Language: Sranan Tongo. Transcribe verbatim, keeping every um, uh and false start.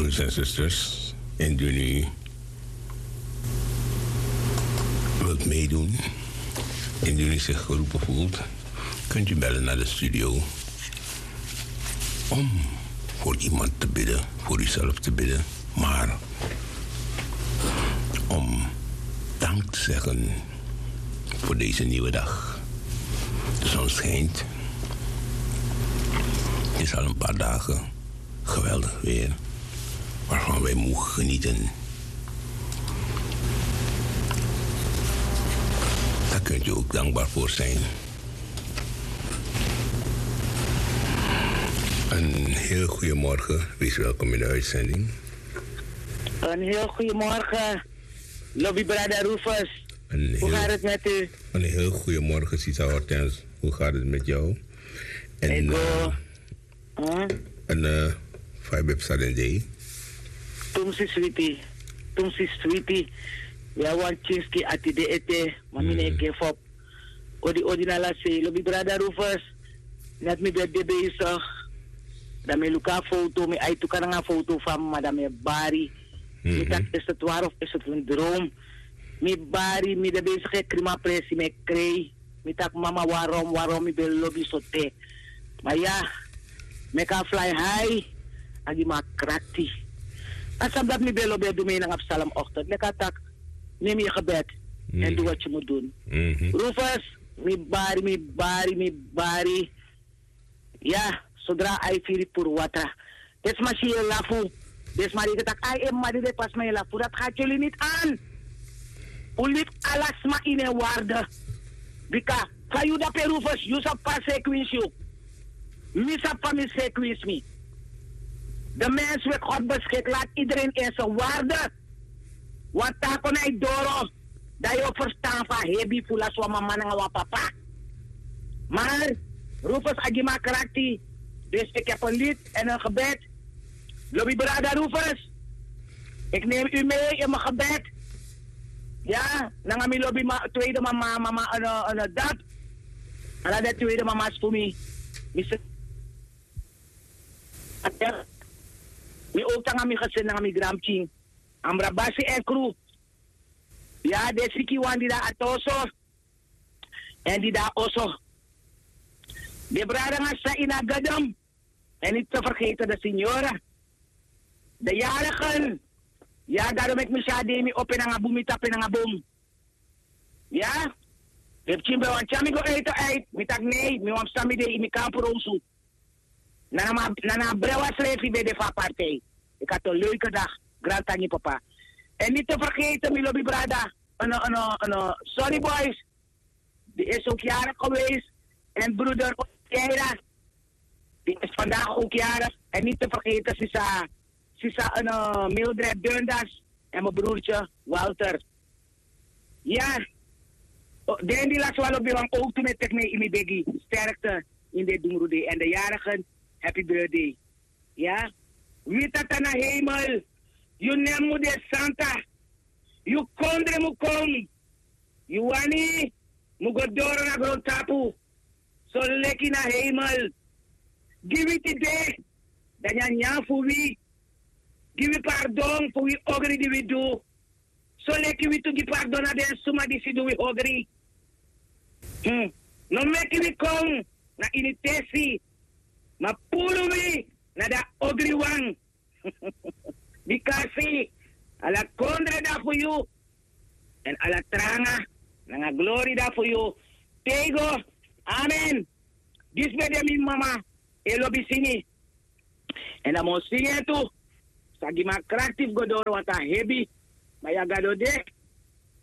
Broeders en zusters, indien u wilt meedoen, indien u zich geroepen voelt, kunt u bellen naar de studio om voor iemand te bidden, voor uzelf te bidden, maar om dank te zeggen voor deze nieuwe dag. De zon schijnt. Het is al een paar dagen geweldig weer, waarvan wij mogen genieten. Daar kunt u ook dankbaar voor zijn. Een heel goede morgen, wees welkom in de uitzending. Een heel goede morgen, Lobby Brada Rufus. Hoe gaat het met u? Een heel goede morgen, Sisa Hortense. Hoe gaat het met jou? En, eh, en, eh, fa yu ben psa den dei? Tumsi switi, tumsi switi. Ya, wan kinski ati de ete, ma mi no e give up. Odi, odi na ala sei, Lobby Brada Rufus. Net mi ben de bezig. Dan mi luku a foto, mi ai tuka nanga a foto fa mi, ma dan mi e bari. Mi taki, is het waar of is het een droom? Mi bari, mi de bezig e kri mi a presi, mi e krei. Mi taki, mama, waarom, waarom mi ben lobi so te? Ma ya, meki a fly high, a gi mi a krakti. A sabi dati mi ben lobi e du mi nanga psalm ochtend. Leki a taki, neem je gebed en doe wat je moet doen. Rufus, mi bari, mi bari, mi bari. Ya, sodra a e firi puru watra. Den sma si yu e lafu. Den sma denki tak' ai, en mama di de pasi, ma yu e lafu. Dati hati yu limit an. Un libi ala sma ini en waarde. Bika fa yu dape, Rufus, yu sabi fa a sekwinsi yu. Mi sabi fa mi sekwinsi mi. De mens weet, God beschik, laat iedereen in zijn waarde. Wan taki kon na yu doro, dan yu o ferstan fa hebi fu lasi wan mama nanga wan papa. Maar Rufus, a gi mi a krakti. Dus ik heb een lied en een gebed. Lobby Brada Rufus, ik neem u mee in mijn gebed. Ya, nanga mi lobby ma, tweede mama, mama, eh, eh, dati. Ala den tweede mama's fu mi. Mi se, mi ook nanga mi gezin, nanga mi granpikin. Amra Basi en kru. Ya, den sikiwan di de na oso. En di de na oso. Den brada nanga sisa ini a gadam. En niet te vergeten de signora. De jarigen. Ya, daarom meki mi si a dei, mi opo en nanga bun, mi tapu en nanga bun. Ya? Den pikin ben wani tyari mi go ete uit. Mi taki nee, mi wani psa mi dei ini mi kampu, Rosu. Na na ma, na na a brewa srefi ben de fu a partij. Ik had een leuke dag. Grantangi papa. En niet te vergeten, mi lobby brada. Ono, ono, ono, Sorry Boys. Die is ook jarig geweest. En broeder Keira, die is vandaag ook jarig. En niet te vergeten, sisa, sisa, eh, Mildred Dundas en mijn broertje Walter. Ya. O, den di lasi wan lobi wan, ook tu mi e teki mi ini mi begi. Sterkte in den dungru dei. En de jarigen, happy birthday. Ya. Wi Tata na hemel, yu nen mu de santa. Yu kondre mu kon. Yu wani mu go doro na grontapu, soleki na hemel. Gi wi tide den nyanyan fu wi. Gi wi pardon fu wi ogri di wi du, soleki wi tu gi pardon na den suma disi du wi ogri. Hmm. No meki wi kon na ini tesi, ma puru wi na den ogriwan. Bikasi ala kondre de fu yu, en ala tranga nanga glori de fu yu. Te go. Amen. Disi ben de mi mama e lobi singi. En dan mi o singi en tu. Sa gi mi a krakti fu go doro, want a hebi. Ma ya Gado de.